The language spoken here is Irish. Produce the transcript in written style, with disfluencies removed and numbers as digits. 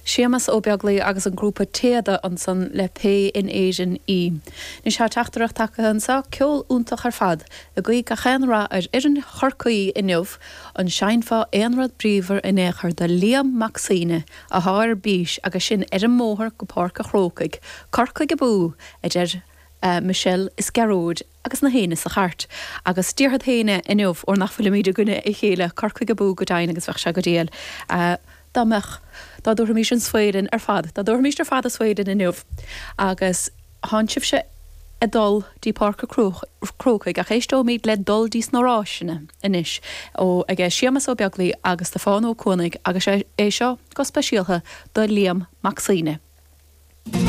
Séamas Ó Beaglaoi agus an grúpa Téada ansan le Pé in Éirinn í. Anois tá teachtaireacht tagtha anso, ceol iontach ar fad, ag guí gach aon rath ar fhoireann Chorcaí inniu, an seinnfeá aon rud bríomhar in aon chor do Liam Mac Suibhne athá ar bís agus sinn ar an mbóthar go Páirc a' Chrócaigh, Corcaigh abú! a deir Michelle is Gearóid agus na héinne sa chairt. Agus déarfad féin é inniu, óir nach bhfuilimid i gcoinne a chéile, Corcaigh abú go deimhin agus bheadh sé go diail dá mbeadh, dá dtabharfaimis an svae linn ar fad, dá dtabharfaimis ar fad an svae linn inniu. Agus thánn sibhse ag dul dtí Páirc a' Chrócaigh ach éisteoimid le Dul dtí sna Ráiseanna anois ó aige Séamas Ó Beaglaoi agus Stiofán Ó Cuanaigh agus é seo go speisialtha do Liam Mac Suibhne.